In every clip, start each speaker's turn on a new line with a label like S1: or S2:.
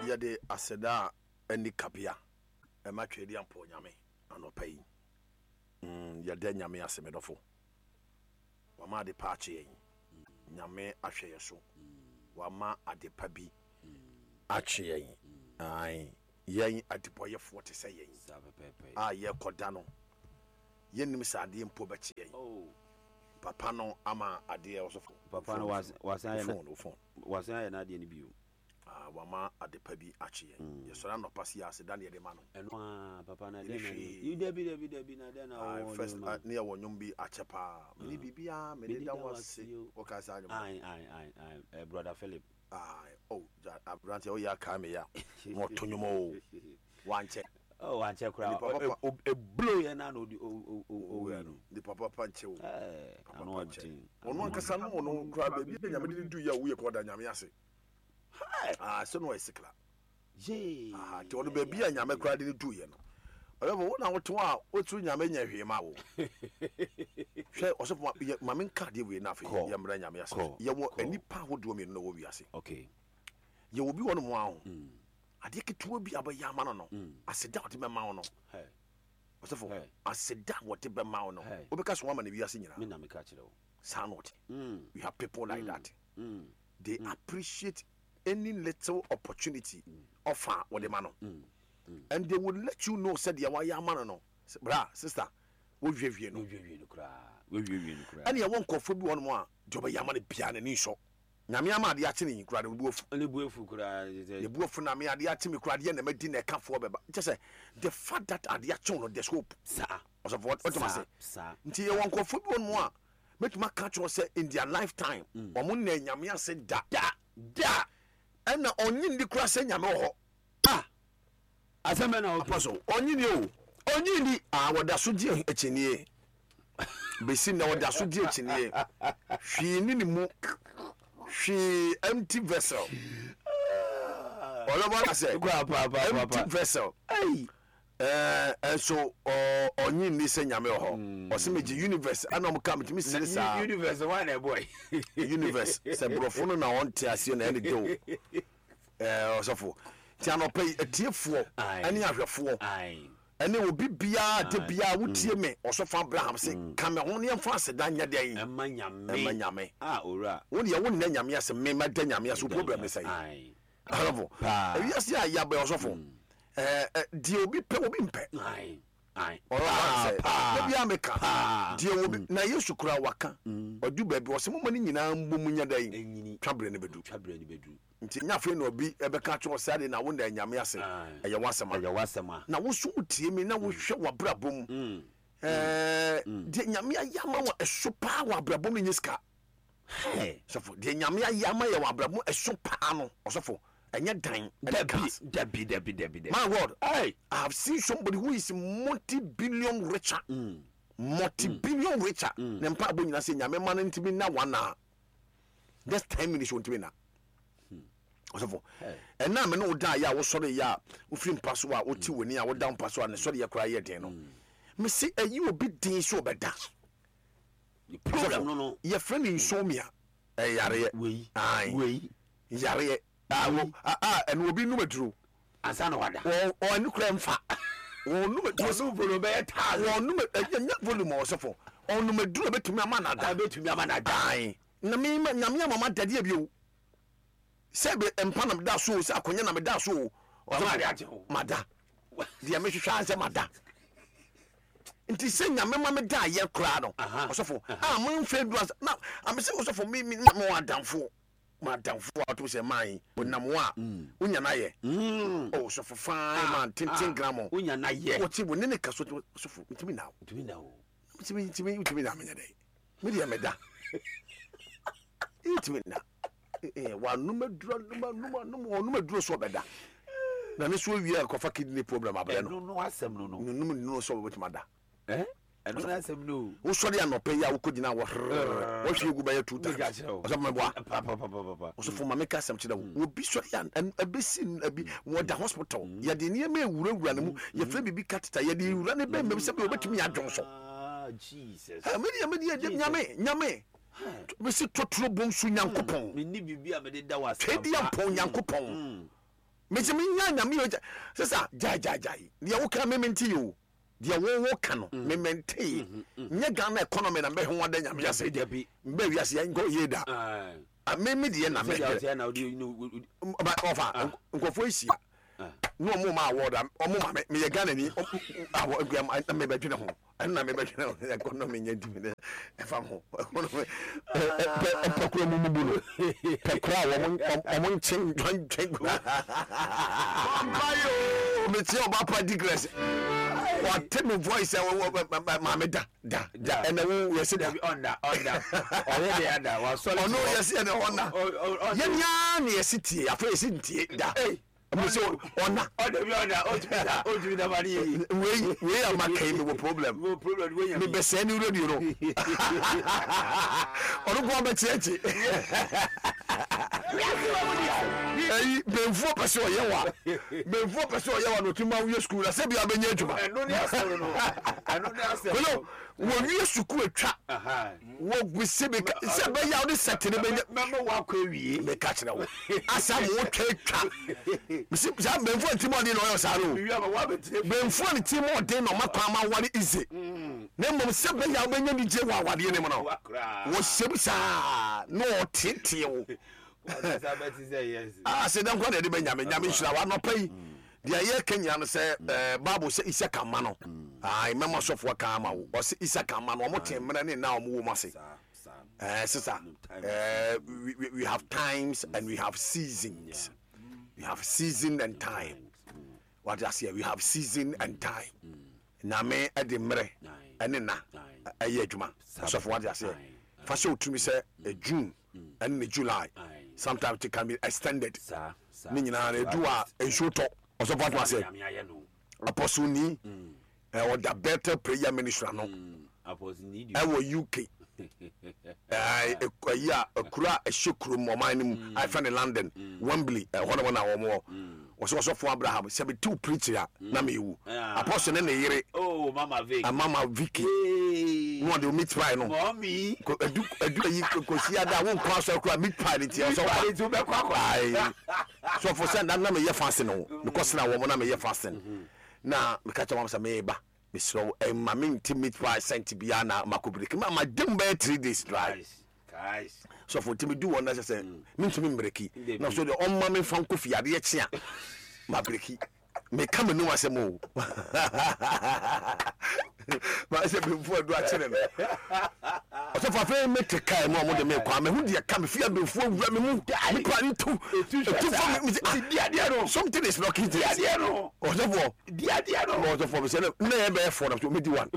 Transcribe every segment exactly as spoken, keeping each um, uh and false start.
S1: Yɛde aseda a ɛne kabea ɛma Twɛdi Ampɔ Nyame anɔpa yi. Mm, yɛda Nyame ase, me dɔfo. Wama ade pa akye yɛn. Nyame ahwɛ yɛ so. Wama ade pa bi akye yɛn. Ae, yɛn adebɔyɛfoɔ te sɛ yɛn
S2: Saa pɛpɛɛpɛ.
S1: a yɛkɔda no, yɛnnim sɛ adeɛ mpo bɛkye yɛn.
S2: Oh.
S1: Papa no ama adeɛ, ɔsɔfo.
S2: Papa no was- wasan ayɛ na-
S1: Phone, wo phone.
S2: Wasan ayɛ n'adeɛ no bio.
S1: Ah, wama ade pa bi akye yɛn. Yɛsɔre anɔpa si aseda ne yɛde ma no.
S2: Ɛno a papa na
S1: Ɛne
S2: dɛn na
S1: hwee.
S2: yi dabi dabi dabi na dɛn na
S1: Ah,
S2: wɔwɔ
S1: first
S2: de
S1: ah,
S2: ma.
S1: ne yɛwɔ nnwom bi akyɛ paa. Mene biribiaa mede
S2: Mede
S1: da
S2: da
S1: wo
S2: wo
S1: ase.
S2: ase o.
S1: Wɔka saa nnwom.
S2: Ayi ayi ayi ayi eh, Brother Philip.
S1: Ah, oh, gya- aberanteɛ, woyɛ akaa me ya na ɔto nnwom o, wankyɛ.
S2: Oh, wankyɛ koraa.
S1: Nipa papa-
S2: O- o- Eblow yɛ na na odi o o o o
S1: no nipa papa nkyɛ o.
S2: Ɛɛ
S1: Papa
S2: ano
S1: pa nkyɛ.
S2: ɔden.
S1: Ɔno ankasa no, ɔno koraa baabi a Nyame de ne du yɛ a woyɛ kɔ ɔda Nyame ase. Ah, sɛ no ɔyɛ sikla.
S2: Yee.
S1: Ah, nti ɔno baabi a Nyame koraa de ne du yɛ no, ɔyɛfo wo na wote hɔ a woturu Nyame nyɛ hwee ma wo. Hwɛ, ɔsɔfo, ma- yɛ- ma menka adeɛ wei no afei
S2: Kɔ.
S1: yɛmmrɛ Nyame ase.
S2: Kɔ.
S1: Yɛwɔ
S2: Kɔ.
S1: nnipa ahodoɔ mmienu na wɔ wiase.
S2: Okay.
S1: Yɛwɔ bi wɔ no mu a ho
S2: Mm.
S1: adeɛ ketewa bi a bɛyɛ ama no no
S2: Mm.
S1: aseda a wɔde bɛma wo no,
S2: Hey.
S1: ɔsɔfo,
S2: Hey.
S1: aseda a wɔde bɛma wo no,
S2: Hey.
S1: wobɛka so woama no wiase nyinaa.
S2: Me na meka kyerɛ wo.
S1: Saa na ɔte.
S2: Mm.
S1: We have people like that.
S2: Mm.
S1: They appreciate any little opportunity offer wɔde ma no
S2: Mm.
S1: and they will let you know sɛ deɛ wayɛ ama no no sɛ, bra sister, wohwehwie no.
S2: Wewiewie no koraa. Wewiewie no koraa.
S1: Ɛne ɛwɔ nkɔfoɔ bi wɔ nom a deɛ ɔbɛyɛ ama no biara n'ani nsɔ. Nyame ama adeɛ akye ne yi koraa, ne bu afu.
S2: Ne bu efu koraa.
S1: Ne bu afu na me adeɛ akye me koraa deɛ na madi na ɛkafoɔ bɛba kyɛ sɛ the fact that adeɛ akye wo no, there's hope.
S2: Saa.
S1: Ɔsɔfo, wɔtɔm ase.
S2: Saa.
S1: Nti yɛwɔ nkurɔfoɔ bi wɔ nom a mɛtumi aka kyerɛ sɛ in their lifetime ɔmo nna Nyame ase da.
S2: Da. Da.
S1: Ɛna ɔnye ndi koraa sɛ Nyame wɔ hɔ.
S2: Ah. Asɛm bɛ na okay.
S1: Apostle, ɔnye ni o.
S2: Onyi ni.
S1: Ah, wɔda so gye akyinie bɛsi nnɛ, wɔda so gye akyinie. Hwee ne ne mu, hwee, empty vessel. Ɔlɔbɔ aka sɛ
S2: Pa pa pa pa
S1: empty
S2: pa.
S1: vessel.
S2: Hey.
S1: ɛɛ ɛnso ɔ ɔnye nni sɛ Nyame wɔ hɔ. Ɔsɛ megye universe ɛna ɔmo ka metumi sere saa.
S2: Universe wa na ɛbɔ yi.
S1: Universe sɛ borɔfo no na ɔnte aseɛ na ɛne de o. ɛɛ ɔsɔfo, nti anɔpɛ yi atiefoɔ
S2: Aye.
S1: ɛne ahwɛfoɔ
S2: Ayi.
S1: ɛne obi biara de biara wotie me, ɔsɔfo Abraham sɛ ka me ho ne yɛmfa aseda nyɛ dɛn?
S2: Ɛma Nyame.
S1: Ɛma Nyame.
S2: Ah, owura.
S1: Wo deɛ wonnɛ Nyame ase, me mɛda Nyame ase. Wo problem ne sɛn?
S2: Ayi.
S1: Ɔsɔfo,
S2: Paa.
S1: ewiase a yɛabɛ, ɔsɔfo, ɛɛ ɛ, deɛ obi pɛ obi mpɛ.
S2: Ayi. Ayi.
S1: Ɔlɔba sɛ
S2: paa.
S1: da biara meka
S2: Paa.
S1: deɛ obi na Yesu koraa waka ɔdu baabi ɔsɛ moma no nyinaa mbɔ mu nyɛ dɛn?
S2: Enyini.
S1: Twa berɛ no bɛdu.
S2: Twa berɛ no bɛdu.
S1: Nti nya afei na obi ɛbɛka kyerɛ wo sɛ ade na wo na Nyame ase.
S2: Aye.
S1: Ɛyɛ w'asɛm a
S2: Ɛyɛ w'asɛm a.
S1: Na wo so wotie mi na wohwɛ w'abrabɔ mu,
S2: Mm.
S1: ɛɛ deɛ Nyame ayɛ ama wɔ ɛso paa wɔ abrabɔ mu no nyɛ sika.
S2: Hey.
S1: Sɔfo, deɛ Nyame ayɛ ama yɛ wɔ abrabɔ mu ɛso paa no, ɔsɔfo, ɛnyɛ dan ɛne
S2: Dabi.
S1: cars.
S2: Dabi dabi dabi dabi.
S1: My God.
S2: Hey.
S1: I have seen somebody who is multi-billion richer,
S2: Mm.
S1: multi-billion richer, ne mpa abɔ nyina sɛ Nyame ma no ntumi na one hour, just ten minutes wɔntumi na. Ɔsɔfo, ɛna me ne wo da yɛ a wosɔre yɛ a wofiri mpa so a wote w'ani a woda mpa so a ne sɔre yɛ koraa yɛ den no, mese ɛyi obi den sɛ ɔbɛda.
S2: The problem no no.
S1: Yɛfrɛ no insomnia, ɛyareɛ.
S2: Wei.
S1: Ae.
S2: Wei.
S1: Yareɛ a wo- a a ɛno obi num aduro.
S2: Ansa na wada.
S1: Wɔ ɔne kura mfa wɔnum aduro.
S2: Ɔno volume bɛyɛ thousand.
S1: Wɔnum ɛnyɛ volume, ɔsɔfo, ɔnum aduro bɛtumi ama no ada.
S2: Abɛtumi ama no ada.
S1: Ae, na me ma Nyame ama ma dadeɛ bio sɛ be mpa na meda so o, sɛ akonnwa na meda so o.
S2: Ɔma ade akye ho.
S1: Mada deɛ mehwehwɛ ansɛ mada, nti sɛ Nyame ma meda ayɛ koraa no.
S2: Aha.
S1: Ɔsɔfo a mamfa du asa na amesɛ ɔsɔfo, me me me wɔ adamfo, ma adamfo a ɔtom sɛ man ɔnam wo a wonya no ayɛ.
S2: Mm.
S1: Oh, ɔsɔfo, fine man, tenten gram.
S2: Wonya na yɛ.
S1: Wɔte wo ne ne ka so, ɔsɔfo, ntumi na wo.
S2: Ntumi na o.
S1: ntumi ntumi ntumi na menyɛ dɛ, me deɛ meda ntumi na eh, wanom aduro, anom anom anom, ɔnom aduro so ɔbɛda na ne so awie a kɔfa kidney problem abrɛ no.
S2: Ɛno no asɛm no no.
S1: Nonum nnuro sɛ ɔbɛtumi ada.
S2: Eh? Ɛno no asɛm no o.
S1: Wosɔre anɔpɛ yi a wokɔgyina wɔ hrrr wɔhwie gu bɛyɛ two times.
S2: Meka kyerɛ wo.
S1: Ɔsɛ mɛboa.
S2: Pa pa pa pa pa pa.
S1: Ɔsɔfo, ma meka asɛm kyerɛ wo, obi sɔre a ɛn- ɛbɛsi ɛbi wɔda hospital, yɛde nneɛma ewurawura ne mu, yɛfrɛ biribi catheter, yɛde ewura ne bɛn mɛm sɛ bi obɛtumi adwon so.
S2: Ah, Jesus.
S1: Ɛ, medeɛ medeɛ Nyame, Nyame mesi totoro bɔ nsu Nyankopɔn.
S2: Menni biribi a mede da wo ase.
S1: Twɛdi
S2: ampa.
S1: Ampɔn Nyankopɔn.
S2: Mm.
S1: Mesi menya Nyame yɛ sisa gyae gyae gyae deɛ woka me mente yɛ o, deɛ wo wo ka no me mente. Nyɛ Ghana economy na mbɛho ada Nyame ase. Mbɛ wiase yɛ nkɔ yie da. Me me deɛ na mɛhwɛ ɔfa nkurɔfoɔ ahyia ne ɔmo ma award a ɔmo ma me, meyɛ Ghana ni awɔ nkura na mebɛdwene ho, ɛno na mebɛdwene ho. Economy nyɛ ntumi ne ɛfa ho economy pɛ pɛ kura mu mu bu no pɛ kura a wɔn wɔn nkyen dwantwen kura mpayo. Metie ɔba pa digress, wate me voice ɛ maame da da da, ɛnɛ wo yɛsi da.
S2: Ɔnda ɔnda ɔyɛ de ada wasɔre.
S1: Ɔno yɛsi ɛnɛ ɔnda yɛn nyinaa na yɛsi tie, afei yɛsi ntie da mo sɛ ɔna.
S2: Ɔda bi ɔda ɔtumi da ɔtumi da ma ne yɛ yi.
S1: Wei wei a ma kɛn mi wɔ problem.
S2: Wɔ problem wei
S1: mi bɛ sɛn ni radio no, ɔno kò ɔbɛ tiɛ kyi. Ɛyi bɛnfuo pɛ sɛ ɔyɛ wa, bɛnfuo pɛ sɛ ɔyɛ wa na ɔtumi ma woyɛ sukuu na sɛ bi abɛnyɛ adwuma.
S2: Ɛno ne asɛm no, ɛno ne asɛm
S1: no. Wɔwie sukuu atwa wɔgusi bi sɛ bɛyɛ a wode sɛte no bɛnya.
S2: Mɛma woakɔ awie.
S1: Meka kyerɛ wo asa ma wotwa atwa mesi saa bɛnfuo ne tirim ɔden na ɔyɛ saa no, bɛnfuo ne tirim ɔden na ɔma kwan ma ware ize, na mmom sɛ bɛyɛ a wobɛnya nigye wɔ awadeɛ no mu no, wɔhyɛm saa na ɔteetee wo sɛ dɛn kora na ɛde bɛnyame. Nyame nhyira wo anɔpa yi. Deɛ yɛka nyina no sɛ Bible sɛ Isaka mma no mɛma sɔfoɔ ka ama wo, ɔsɛ Isaka mma no ɔmo te mmerɛ ne nna a ɔmo wɔ mu ase. Sister, we, we, we have times and we have seasons. We have season and time. What I say, we have season and time. Nyame ɛde mmerɛ ɛne na ɛyɛ adwuma. Sɔfo, what I say, fa hyɛ otumi sɛ June ɛne ne July, sometimes it can be extended. Ne nyinaa no edu a nsuo tɔ. Ɔsɔfo ato ase Apostle ni ɔda Bethel Prayer Ministry ano ɛwɔ U K, ɛyi a akura a ɛhyɛ kurom ɔman no mu a yɛfrɛ no London, Wembley, ɛhɔ nom na wɔn wɔ. Wɔsɛ ɔsɔfo Abraham sɛ metew preaching a na mewu. Apostle ne ne yere Mama Vicky na ɔde meat pie no edu edu ayi kɔsi ada a wonkɔ asɔre koraa, meat pie ne nti ɔsɛ ɔba. Ayi sɔfo sɛ na na meyɛ fasting o, mekɔ sena wɔn na meyɛ fasting na meka kyerɛ wɔn sɛ meba, mesrɛ wo, ɛma me nti meat pie scent biara na makɔ break ma ma dem bɛyɛ three days dry. Sɔfo nti medu wɔn na kyɛ sɛ mentumi mbreki na so deɛ ɔmma me mfa nkɔ fie, adeɛ kye a ma break. Meka me num asɛm o, ma sɛ bɛmfu adu akyere no. Ɔsɔfo, afei mete kaa mu a ɔmo de me kɔ a mehu deɛ ka me fie a bɛmfu awura me mu mepa ntu etu fam me sɛ something is not there. Ɔsɔfo, ɔsɔfo, mesɛ ne yɛ bɛyɛ four na so medi one.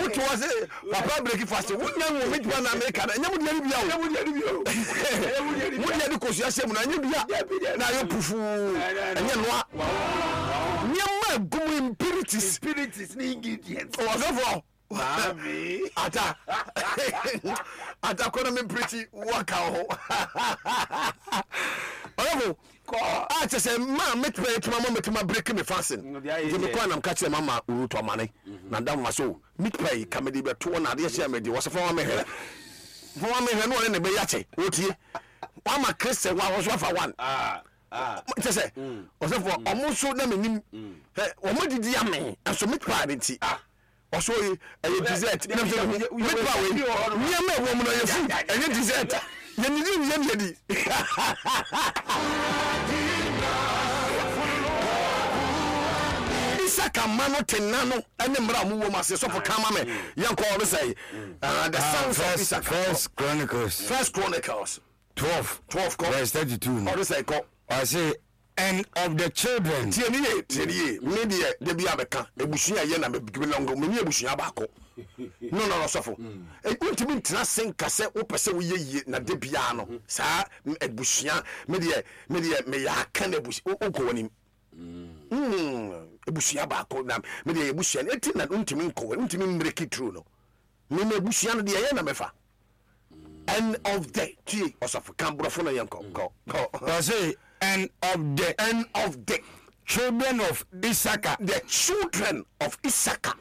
S1: Wote hɔ sɛ papa break fast, wonya nwo metuma na meka no ɛnyɛ mo deɛ no bia o, mo deɛ de kosua hyɛ mu no ɛnyɛ bia na ayɛ pufuu, ɛnyɛ noa nneɛma agu mu, impurities. Ɔsɔfoɔ ata ata kɔ na memprikyi waka ho. Ɔsɔfo a kyɛ sɛ ma metuma yɛtuma ma metuma break me fasting nti mekɔ anam ka kyerɛ mama Ruth ɔmane na da mma so meat pie ka mede bɛtoɔ na adeɛ hyɛ mede wɔ sɛ fa ma mehwɛ, fa ma mehwɛ na ɔne ne bɛyɛ akyɛ wɔtie wama Christian wa wɔso afa one kyɛ sɛ ɔsɛfoɔ ɔmo nso na menim ɔmo didi ame ɛnso meat pie ne nti ɔso yi ɛyɛ dessert na sɛ meat pie wei nneɛma ɛwɔ mu no ɛyɛ food, ɛnyɛ dessert. Yɛnidi yɛ ne yɛdi. Isaka mma no te nna no ne mmerɛ a ɔmo wɔ mu ase. Sɔfo, ka ma me yɛnkɔ. Ɔno sɛ the sons of Isaka.
S3: First Chronicles.
S1: First Chronicles
S3: twelve.
S1: Twelve kɔ.
S3: Verse thirty-two no.
S1: Ɔno sɛ kɔ.
S3: Ɔse, and of the children.
S1: Tie ni ye, tie ni ye. Me deɛ de bi abɛka ebusua yɛ na me belong me ni ebusua baako no no no. Sɔfo, wontumi ntena se nka sɛ wopɛ sɛ woyɛ yie na de biara no saa ebusua, me deɛ me deɛ meyɛ aka na ebusua wokɔ w'anim, ebusua baako na me deɛ ebusua no eti na wontumi nkɔ w'anim, wontumi mmiriki turu no. Me me ebusua no deɛ ɛyɛ na mefa. And of the, tie ɔsɔfo, kan borɔfo no yɛn kɔ kɔ kɔ.
S3: Ɔse, and of the
S1: and of the
S3: children of Issachar
S1: the children of Issachar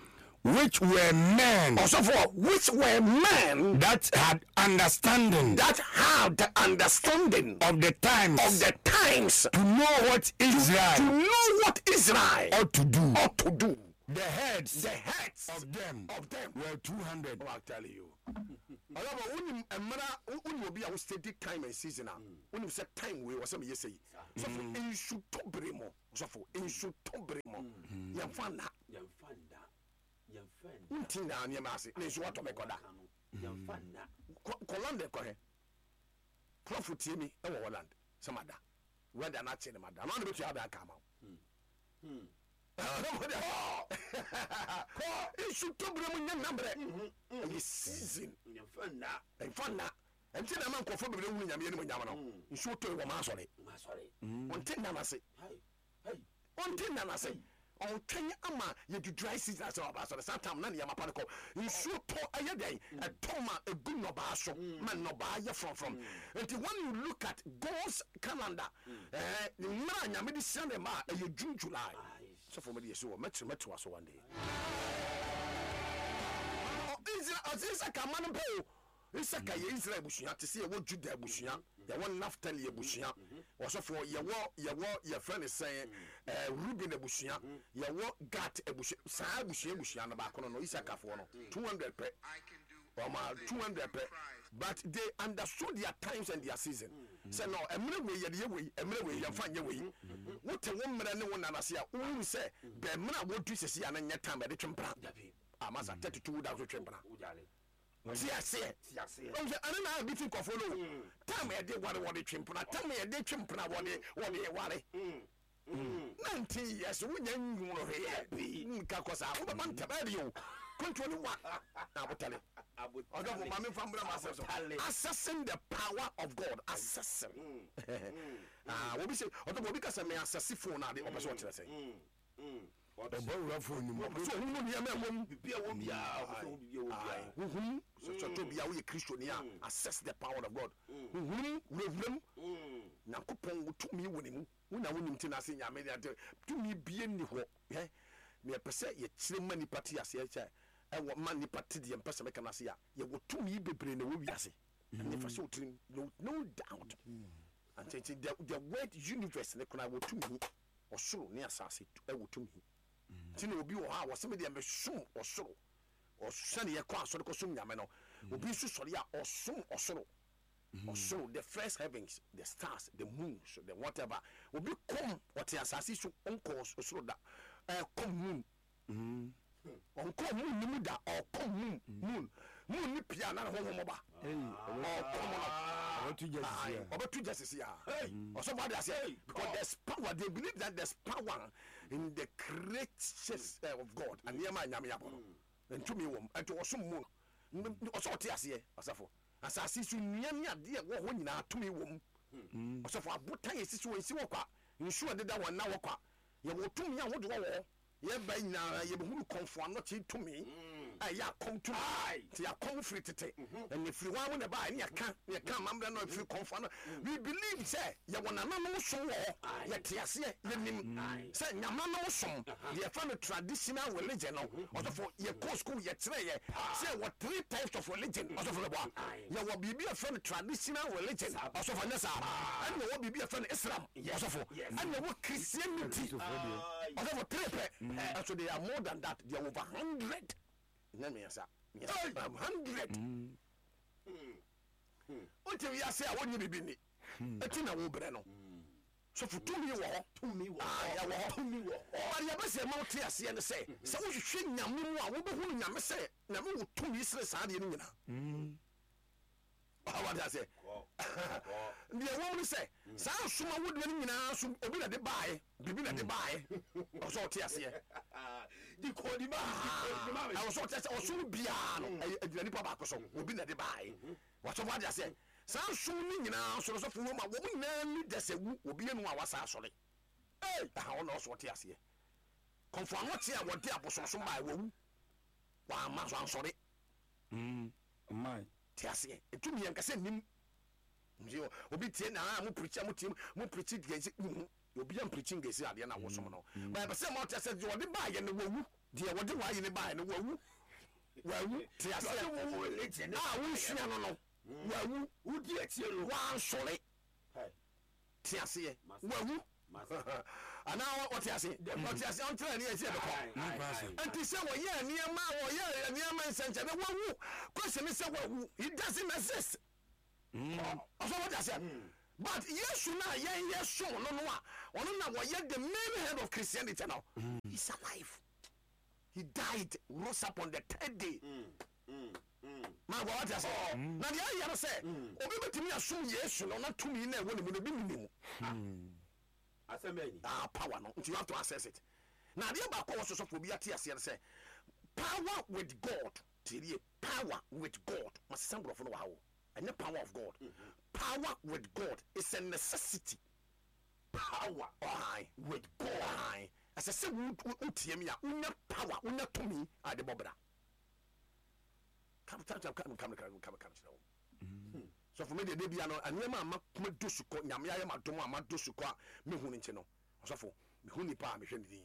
S3: Which were men
S1: Ɔsɔfoɔ, which were men
S3: that had understanding
S1: that had the understanding
S3: of the times
S1: of the times
S3: to know what
S1: to
S3: Israel
S1: know what Israel
S3: ought to do.
S1: Ought to do.
S3: The heads
S1: The heads
S3: of them
S1: of them
S3: were two hundred.
S1: Oh, I tell you. Ɔlọ́bọ̀ wonim mmerɛ, wonim obi a wo study time and season a, wonim sɛ time wei wɔ sɛ meyɛ sɛ yi. Sɔfo, nsu tɔ bere mu, sɔfo, nsu tɔ bere mu, yɛmfa nna.
S2: Yɛmfa nda, yɛmfa nda.
S1: Wonti nyinaa nneɛma ase na nsu watɔ mɛkɔda.
S2: Yɛmfa nda.
S1: Kɔ kɔ London kɔhwɛ. Prɔfo tie mi ɛwɔ Holland sɛ mada wɛda no akye ne mada na ɔne bɛtua ada aka ama wo. Kɔ nsu tɔ bere mu nyɛ nnabrɛ, ɛyɛ season.
S2: Yɛmfa nda.
S1: Ɛmfa nna. Ɛnti na ma nkurɔfoɔ bebree hunu Nyame anim nyam no. Nsuo tɔ yi wɔ ma asɔre.
S2: Masɔre.
S1: Ɔnte nna no ase.
S2: Hai hai.
S1: Ɔnte nna no ase, ɔntwɛn ama yɛdu dry season ase ɔba asɔre. Saa tam na nneɛma pa no kɔ. Nsuo tɔ ɛyɛ dɛn? Ɛtɔ ma ɛgu nnɔbaa so ma nnɔbaa yɛ frɔmfrɔm. Nti when you look at God's calendar, ɛɛ mmerɛ a Nyame de hyira ne ma a, ɛyɛ June, July. Sɔfo, mede yɛsi wɔ mɛkyerɛ mɛtoa so one day. Ɔ- Israel ɔsɛ Isaka ma no mpo o. Isaka yɛ Israel abusua te sɛ yɛwɔ Juda abusua, yɛwɔ Naftali abusua, ɔsɔfoɔ, yɛwɔ yɛwɔ yɛfrɛ ne sɛn, ɛɛ Ruben abusua, yɛwɔ Gat abusua. Saa abusua abusua no baako no no Isakafoɔ no two hundred pɛ, ɔma two hundred pɛ, but they understood their times and their season sɛ no, mmerɛ wei yɛde yɛ wei, mmerɛ wei yɛmfa nyɛ wei. Wote wo mmerɛ ne wo nanase a, wohunu sɛ bɛn mmerɛ a wɔdu sɛsi a no nyɛ time yɛde twe mpena.
S2: Dabi.
S1: Amasa thirty two da so twe mpena.
S2: Wogyale.
S1: Te aseɛ.
S2: Te aseɛ.
S1: Ɔmo sɛ ɛne na bi ti nkɔfoɔ no o, time yɛde ware wɔde twe mpena, time yɛde twe mpena wɔde wɔde ware. Nineteen years wonya nwunu hwee nka kɔ saa wobɛba ntɛm ɛde o kɔntuo ne wa na abotale. Ɔdɔfo, maame nfa mbura ma asɛm so.
S2: Abotale.
S1: Assessing the power of God, assessing. Ah, obi sɛ, ɔdɔfo, obi ka sɛ me assess phone ade, ɔpɛ sɛ ɔkyerɛ sɛ
S3: Ɔbɔ wura phone no mu.
S1: Ɔpɛ sɛ ɔhunu nneɛma ɛwɔ mu.
S2: Bibi a wɔ biara, ɔpɛ sɛ ɔhu bibi a wɔ biara.
S1: Huhum sɛ sɛ bia woyɛ Kristoni a, assess the power of God. Huhum wurawuram Nyankopɔn wo tumi wɔ ne mu, wona wonim te no ase. Nyame de ade tumi bie nni hɔ ɛ meyɛpɛ sɛ yɛkyerɛ ma nipa te aseɛ sɛ ɛwɔ ma nipa te deɛ mpɛ sɛ meka no ase a, yɛwɔ tumi bebree na ɛwɔ wiase ɛne fa sɛ wotirim. no no doubt. Nti nti the the word universe ne koraa wɔ tumi. Ɔsoro ne asase ɛwɔ tumi. Nti na obi wɔ hɔ a wɔsɛ me deɛ mesom ɔsoro. Ɔsɛne yɛkɔ asɔre kɔsom Nyame no, obi nso sɔre a ɔsom ɔsoro ɔsoro, the first heavens, the stars, the moons, the whatever. Obi kɔm ɔte asase so, ɔnkɔ ɔsoro da, ɛkɔm moon, ɔnkɔ moon ni mu da, ɔkɔm moon moon moon ni pia na ne honhom ba ɔkɔm no.
S3: Ɔbɛto gya sisi a.
S1: Ɔbɛto gya sisi a, ɔsɔfo ade aseɛ, because there's power. They believe that there's power in the creatures uh, of God and nneɛma a Nyame abɔ no, ntumi wɔ mu. Ɛnti ɔsom mu no, ɔsɛ ɔte aseɛ. Ɔsɔfo, asase so nnua ne adeɛ ɛwɔ hɔ nyinaa tumi wɔ mu. Ɔsɔfo, abotan esisi wɔ nsi wɔ kwa, nsuo a ɛdeda wɔn na wɔ kwa, yɛwɔ tumi ahodoɔ wɔ hɔ. Yɛba nyinaa yɛbɛhunu kɔnfo anɔkye tumi a ɛyɛ akɔm tumi. Nti akɔm firi tete ɛna firi hɔ a na ɛbaa ɛne yɛka yɛka amammerɛ no firi kɔnfo ano. We believe sɛ yɛwɔ nananom som wɔ hɔ. Yɛte aseɛ, yɛnim sɛ nyamanom som deɛ yɛfa no traditional religion no. Ɔsɔfo, yɛkɔ school, yɛkyerɛ yɛ sɛ yɛwɔ three types of religion. Ɔsɔfo, bɛboa, yɛwɔ biribi a yɛfrɛ no traditional religion. Ɔsɔfo, ɛnyɛ saa? Ɛne yɛwɔ biribi a yɛfrɛ no Islam, ɔsɔfo, ɛne yɛwɔ Christianity. Ɔsɔfo, three pɛ. Ɛso they are more than that. They are over hundred. Nyɛ mmiɛnsa mmiɛnsa, hundred. Wote wiase a wonye biribi ni ɛti na wobrɛ no. Sɔfo, tumi wɔ hɔ.
S2: Tumi wɔ
S1: Ah,
S2: hɔ.
S1: yɛwɔ hɔ.
S2: Tumi wɔ hɔ.
S1: But yɛbɛsɛ ma wote aseɛ ne sɛ sɛ wohwehwɛ Nyame mu a, wobɛhunu Nyame sɛ Nyame wɔ tumi sene saa adeɛ no nyinaa. Wate aseɛ? Deɛ wɔm ne sɛ saa nsoma wodeɛ no nyinaa so, obi na de baeɛ, biribi na de baeɛ. Ɔwɔ sɛ ɔte aseɛ.
S2: Di kɔdi ma mi, di kɔdi ma mi.
S1: Ɛwɔ sɛ ɔte aseɛ. Ɔsom biara no ɛyɛ ɛgyina nipa baako so, obi na de baeɛ. Wɔsɔfo, ade aseɛ, saa nsom no nyinaa so no, sɔfo, wɔ mu a wɔn nyinaa leaders awu, obi yɛ no a wasa asɔre. Ee, aha ɔna ɔsɔ ɔte aseɛ. Kɔnfɔ anɔkye a wɔde abosomsom baeɛ, wɔwu, wɔama so ansɔre.
S3: Man.
S1: Te aseɛ, ntumi yɛn kasa nim nti obi tie na ah mo preach a, mo tie mo preach deɛ nsi. Obi am preaching gesi adeɛ na wosom no, but ɛpɛ sɛ ma ɔte sɛ deɛ ɔde baayɛ no wawu. Deɛ wɔde waayɛ ne baayɛ no wawu, wawu. Te aseɛ?
S2: Ɔde wo religion ne
S1: a wosua no no wawu.
S2: Wodi akyire no.
S1: Wansɔre.
S2: Hey.
S1: Te aseɛ?
S2: Master.
S1: Wawu.
S2: Master.
S1: Anaa ɔte ase, ɔte ase, ɔnkyerɛ ne yɛ sɛ ɛbɛkɔ.
S3: Ne kwan so.
S1: Nti sɛ wɔyɛ nneɛma a wɔyɛ nneɛma nsɛnkyɛnne, wawu. Question ne sɛ wawu, he doesn't exist. Ɔsɔ wɔte aseɛ? But Yesu na yɛn yɛ som no no a ɔno na wɔyɛ the main head of Christianity no, he's alive. He died, rose up on the third day. Maa wɔ wɔte aseɛ? Na deɛ ayɛ no sɛ obi bɛtumi asom Yesu no na tumi na ɛwɔ ne mu no bi nni mu.
S2: Asɛm bɛɛ ni.
S1: Ah, power no nti you have to access it. Na adeɛ baako a wɔsosɔfo bi ate aseɛ no sɛ power with God, tie, power with God, masesa nkurɔfo no wɔ ha o, ɛnyɛ power of God. Power with God is a necessity.
S2: Power
S1: Ɔhan
S2: with God.
S1: Ɔhan ɛsɛ sɛ wo- wo- wotie mi a wonya power, wonya tumi a de bɔ bra. Kam kam kam kam kam kam kam kam kyerɛ wo sɔfo mi deɛ, de bia no nneɛma a ma kuma do sukɔ, Nyame ayɛ ma dom a ma do sukɔ a mehu no nti no, ɔsɔfo, mehu nipa a mehwɛ ne din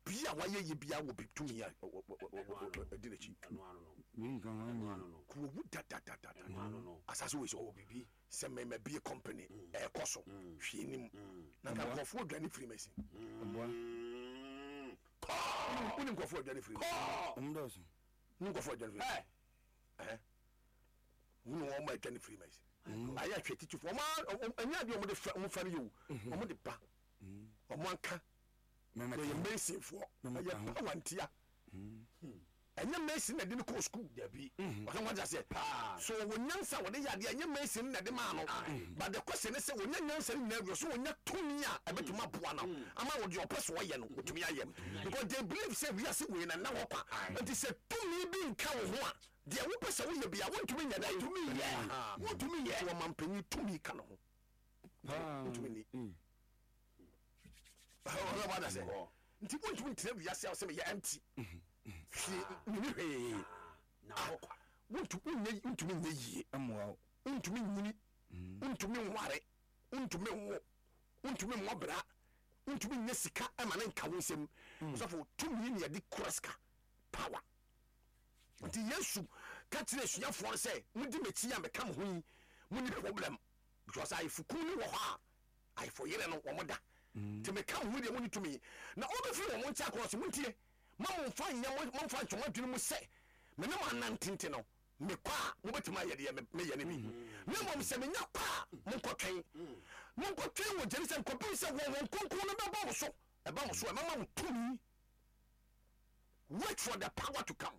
S1: bia wayɛ yie bia wɔ bi tumi a ɛdi n'akyi.
S2: Ɛno ano no.
S3: Wei nka ho
S2: Ɛno
S3: anyɛ.
S2: ano no.
S1: Kuwawu dadadadada.
S2: Ɛno ano no.
S1: Asase wei so
S2: Ɔwɔ bibi.
S1: sɛ mɛmɛ bie company ɛɛkɔ so hwee nim na nka nkurɔfoɔ adwane firi masi.
S3: Ɔboa.
S2: Mm. Kɔɔ.
S1: Wone nkurɔfoɔ adwane firi
S2: Kɔɔ.
S3: Ɔmo dɔɔso.
S1: ne nkurɔfoɔ adwane firi
S2: Hey.
S1: ɛhɛ wone wɔn ma adwane firi masi ayɛ ahwɛ titifoɔ ɔmo ɛnyɛ adeɛ ɔmo de fɛ, ɔmo fɛ no yɛ o, ɔmo de ba ɔmo anka
S3: Mɛmɛ
S1: yɛyɛ
S3: ka ho.
S1: masonfoɔ.
S3: Mɛmɛ
S1: ɛyɛ
S3: ka ho.
S1: power ntia, ɛnyɛ mason na de no kɔɔ school.
S2: Dabi.
S1: Ɔsɛ wɔn aseɛ
S2: Paa.
S1: so wɔn nyansa wɔde yɛ adeɛ, ɛnyɛ mason na de maa no. But the question is sɛ wɔnyɛ nyansa no nyinaa wie so, wɔnyɛ tumi a ɛbɛtumi aboa no ama wɔde ɔpɛ so wɔyɛ no wɔtumi ayɛ, because they believe sɛ wiase wei na nna hɔ kwa. Nti sɛ tumi bi nka wo ho a, deɛ wopɛ sɛ woyɛ bia wontumi nyɛ dɛ.
S2: Wontumi nyɛ. Wontumi nyɛ.
S1: Nti ɔmampanyin tumi ka no ho
S3: Paa.
S1: wontumi ni.
S3: Mm.
S1: Ɔsɛ wɔn adasɛ nti wontumi ntena wiase a wɔsɛ meyɛ empty, hwee mini hwee.
S2: Na hɔ kwa.
S1: Wontu wonyɛ, wontumi nyɛ yie.
S3: Ɛmmoa wo.
S1: Wontumi nyini, wontumi nware, wontumi nwo, wontumi mmɔ bra, wontumi nyɛ sika ɛma ne nka wo nsɛm. Ɔsɔfo, tumi ne yɛde kura sika, power. Nti Yesu ka kyerɛ asuafoɔ no sɛ modi m'akyi a meka mo ho yi, monni problem, because ayefokunu no wɔ hɔ a ayefo yere no wɔn da. Nti meka mo ho deɛ, monni tumi na ɔbɛfiri wɔn nkyɛn akɔ sɛ montie ma momfa nyɛ mo, momfa nkyɛ mo adwene mu sɛ me ne mo anante no, mekɔ a mobɛtumi ayɛ deɛ me- meyɛ no bi. Na mmom sɛ menya kɔ a, monkɔtwɛn, monkɔtwɛn wɔ Jerusalem kɔpem sɛ wɔn wɔn kronkron no bɛba wo so. Ɛba mo so a, ɛbɛma wo tumi. Wait for the power to come.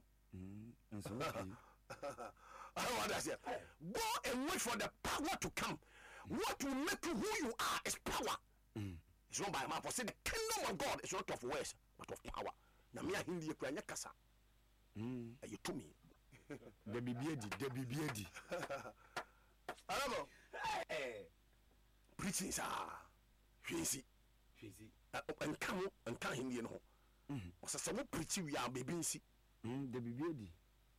S3: Nso okay.
S1: What does it? Go and wait for the power to come. What will make you who you are is power. It's not by mouth. For say the kingdom of God is not of words, but of power. Na me ahindi ekura nyɛ kasa. Ɛyɛ tumi.
S3: Da biribi adi, da biribi adi.
S1: Alamo
S2: Hey.
S1: preaching saa hwee nsi.
S2: Hwezi.
S1: Ɛ- Nka ho, nka ahenni no ho. Ɔsɛ sɛ wo preach wie a, baabi nsi.
S3: Mm, Da biribi adi.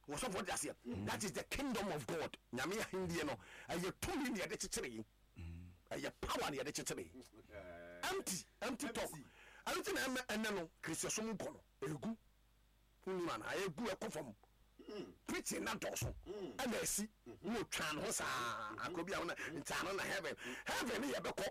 S1: Wɔsɔfo de aseɛ. That is the kingdom of God. Nyame ahenni no ɛyɛ tumi na yɛde kyekyere yi. Ɛyɛ power na yɛde kyekyere yi. Empty empty talk. Ɛno ti na ɛmɛ ɛnɛ no kristiasom nkɔ no egu wonim ana egu ɛkɔ fam. Preaching na dɔɔso ɛna esi na otwa ne ho saa akɔ bi a wɔn ntaa no na heaven, heaven ne yɛ bɛkɔ.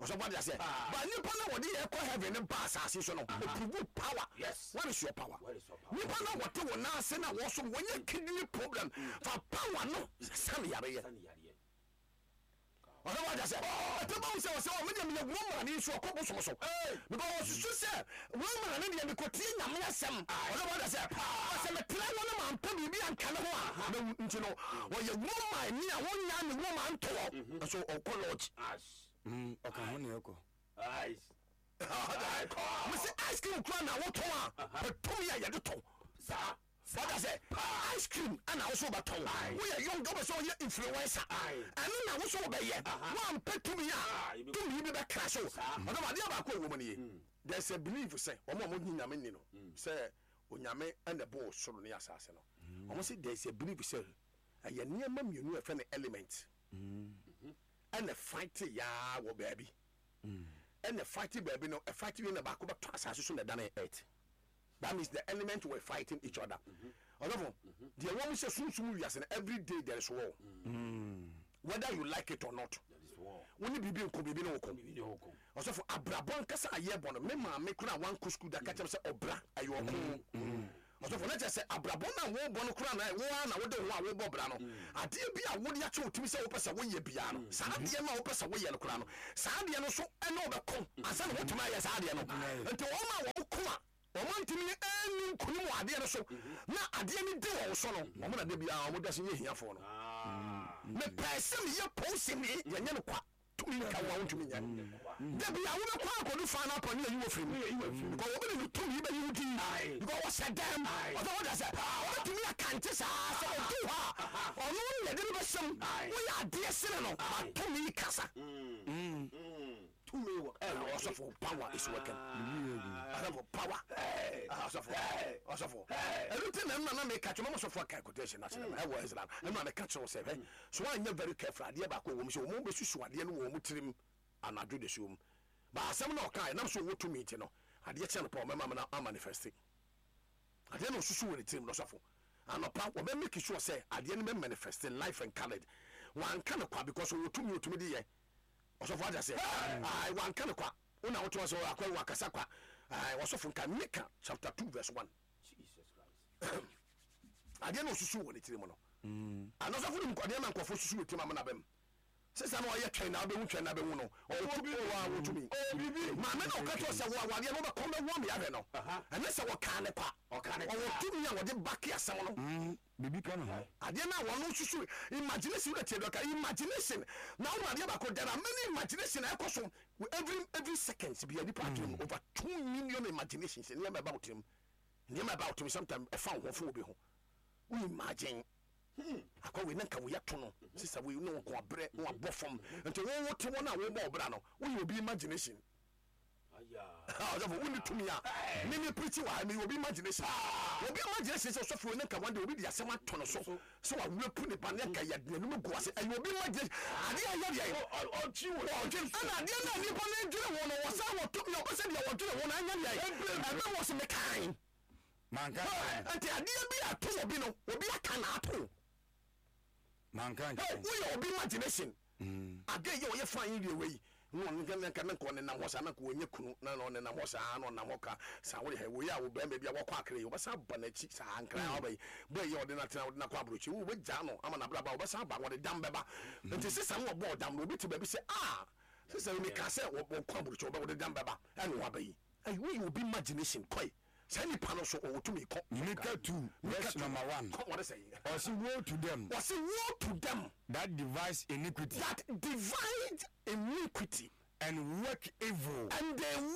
S1: Ɔsɔfo de aseɛ ba nipa na wɔde yɛ kɔ heaven ne ba asase so no oprove power.
S2: Yes.
S1: What is your power?
S2: What is your power?
S1: Nipa na wɔte wɔn nan ase na wɔsom wɔnyɛ kidney problem, fa power no sani yare yɛ.
S2: Sani yareɛ.
S1: Ɔsɛ wɔn ahyɛ ɛtɛ bá sɛ ɔsɛ ɔmo deɛ meyɛ Roman ni nso ɔkɔ bosom so because ɔsusu sɛ Roman ne deɛ mekɔtie Nyame asɛm. Ɔsɛ wɔn ahyɛ ɔsɛ metena hɔ no ma mpɛ biribi anka ne ho a mɛwu. Nti no ɔyɛ Roman ni a wɔnya ne Roman ntoɔ nso ɔkɔ lodge.
S2: Ash.
S3: Mm, Ɔka ho ne ɛkɔ.
S2: Ice.
S1: Mesi ice cream kura na wotɔn a, pɛtumi a yɛde tɔ.
S2: Saa.
S1: Wɔda sɛ ice cream ɛna woso wobɛtɔn, woyɛ young, wobɛ sɛ woyɛ influencer, ɛno na woso wobɛyɛ. Woampɛ tumi a, tumi bi bɛkra so. Ɔdɔm adeɛ baako a ɛwɔ mu no ye, there's a belief sɛ ɔmo a ɔmo nyi Nyame ni no sɛ Onyame ɛna ɛbɔɔ soro ne asase no, ɔmo sɛ there's a belief sɛ ɛyɛ nneɛma mmienu a ɛfɛ no element ɛna fight yaa wɔ baabi. Ɛna fight baabi no, ɛfight wie na baako bɛtɔ asase so na ɛdane earth. That means the element were fighting each other. Ɔdɔfo, deɛ wɔn sɛ sunsum wiase no, every day there is war, whether you like it or not.
S2: That is war.
S1: Wo ne biribi nko, biribi ne wo ko.
S2: Bibi ne hɔ ko.
S1: Ɔsɔfo, abrabɔ nkasa a yɛbɔ no, me maame kora a wankɔ sukuu da ka kyerɛ me sɛ ɔbra ɛyɛ ɔko. Ɔsɔfo, na kyerɛ sɛ abrabɔ no a wobɔ no kora na wo ara na wode wo ho a wobɔ bra no, adeɛ bi a wode akyɛ wo timi sɛ wopɛ sɛ woyɛ biara no, saa adeɛ no a wopɛ sɛ woyɛ no kora no, saa adeɛ no so ɛne wobɛko ansa na wotumi ayɛ saa adeɛ no. Nti wɔn a wɔn ko a wɔn ntumi ɛni nkonim wɔ adeɛ no so na adeɛ no di wɔn so no, wɔn na de biara wɔn da so yɛ hiafoɔ no.
S2: Ah.
S1: Mepɛɛ sɛ meyɛ polisini, yɛnyɛ no kwa, tumi nka wo a wontumi nyɛ. Dabi a wobɛkɔ akɔdu fa no apɔ ne yɛyi wɔ firi mu because wɔbɛde no tumi bɛyi wo din
S2: Aye.
S1: because wɔhyɛ dɛm. Ɔsɛ wɔda sɛ wɔbɛtumi akante saa sɛ ɔdu hɔ a, ɔno ne yɛde no bɛhyɛm.
S2: Aye.
S1: Woyɛ adeɛ sene no, batumi kasa.
S2: Tumi wɔ.
S1: Ɛwɔ ɔsɔfo, power is working. Ɔsɔfo, power. Ɔsɔfo, ɔsɔfo, ɛnu ti na ɛnu na meka kyerɛ mɔmɔ sɔfo aka quotation na kyerɛ ɛwɔ Islam. Ɛnu na meka kyerɛ sɛ hɛ so wɔanyɛ very careful, adeɛ baako wɔ mu sɛ wɔn bɛsusu adeɛ no wɔ wɔn tirim anadwo de so mu ba asɛm na ɔka ɛnam so ɔwɔ tumi ti no, adeɛ kyɛn no pa ɔmɛma na amanifest adeɛ na ɔsusu wɔ ne tirim no. Sɔfo, anɔpa wɔbɛ make sure sɛ adeɛ no bɛ manifest life and coloured. Wanka no kwa because ɔwɔ tumi, ɔtumi de yɛ. Ɔsɔfo, agya sɛ ayi wanka no kwa, wona wote hɔ sɛ akɔ wakasa kwa. Ayi, ɔsɔfo, nka Mika chapter two verse one.
S2: Jesus Christ.
S1: Adeɛ na ɔsusu wɔ ne tirim no ana, ɔsɔfo no, adeɛ ma nkɔfo susu wɔ tirim amena bɛm sisan na ɔyɛ twɛn na abɛhu, twɛn na abɛhu no, ɔwɔ tumi, ɔwɔ a wɔtumi maame na ɔka kyerɛ sɛ wɔ awadeɛ no wobɛkɔm bɛwɔ me ahwɛ no. Ɛnyɛ sɛ wɔkaa ne kwa.
S2: Ɔka ne
S1: ɔwɔ tumi a wɔde bake asɛm no.
S3: Biribi ka ne ho.
S1: Adeɛ no a wɔno susu, imagination na tie dɔka imagination na wɔn adeɛ baako, there are many imagination a ɛkɔ so every every second bi a nipa adwene mu, over two million imaginations. Nneɛma ɛba wo tirim, nneɛma ɛba wo tirim, sometimes ɛfa wo ho fo obi ho, wo imagine akɔ wei na nka wei ato no sisa wei ne wɔn abrɛ na wabɔ fam. Nti wɔn wo te wɔn a wɔbɔ ɔbra no, woyɛ obi imagination.
S2: Aya.
S1: Ɔsɔfo, wonni tumi a meme preach wɔ ha, meyɛ obi imagination. Obi imagination sɛ ɔsɔfo wei ne nka one day obi de asɛm ato no so sɛ wawerɛ pu ne ba ne nka yɛ n'anim gu ase. Ɛyɛ obi imagination. Adeɛ a ɛyɛ deɛ
S2: Ɔkyi wɔ.
S1: Ɔdwene ɛna adeɛ no a nipa no dwene ho no, wɔ sɛ wɔ tumi a ɔpɛ sɛ deɛ wɔdwene ho no ɛnyɛ deɛ ɛbɛ wɔ so mekan.
S3: Manka.
S1: Nti adeɛ bi ato obi no, obi aka na ato.
S3: Manka
S1: Hey,
S3: nkyɛn.
S1: woyɛ obi imagination. Ade yɛ ɔyɛ fine deɛ wei na ɔno nka nka nka ɔnenam hɔ saa na nka wɔnyɛ kunu na na ɔnenam hɔ saa na ɔnam hɔ ka saa wɔde hɛ wei a wo bɛrima bi a wɔkɔ akere yi, wɔbɛsan aba n'akyi saa nkran a ɔba yi bɔyɛ yɛ ɔde n'atena ɔde n'akɔ aburokyi wo wɔbɛgya no ama n'abraba, wɔbɛsan aba, wɔde dam bɛba. Nti sisan no wɔbɔ ɔdam no, obi te baabi sɛ aa sisan mi ka sɛ wɔkɔ aburokyi, wɔbɛ wɔde dam bɛba ɛna wɔaba yi. Ɛyi woyɛ obi imagination kɔɛ saa nipa no so ɔwɔ tumi kɔ.
S3: Mika two verse number one.
S1: Kɔ, wɔde sɛ yi.
S3: Ɔsi, "Woe to them
S1: Wɔsi, "Woe to them
S3: that devise iniquity
S1: that devise iniquity
S3: and work evil
S1: and they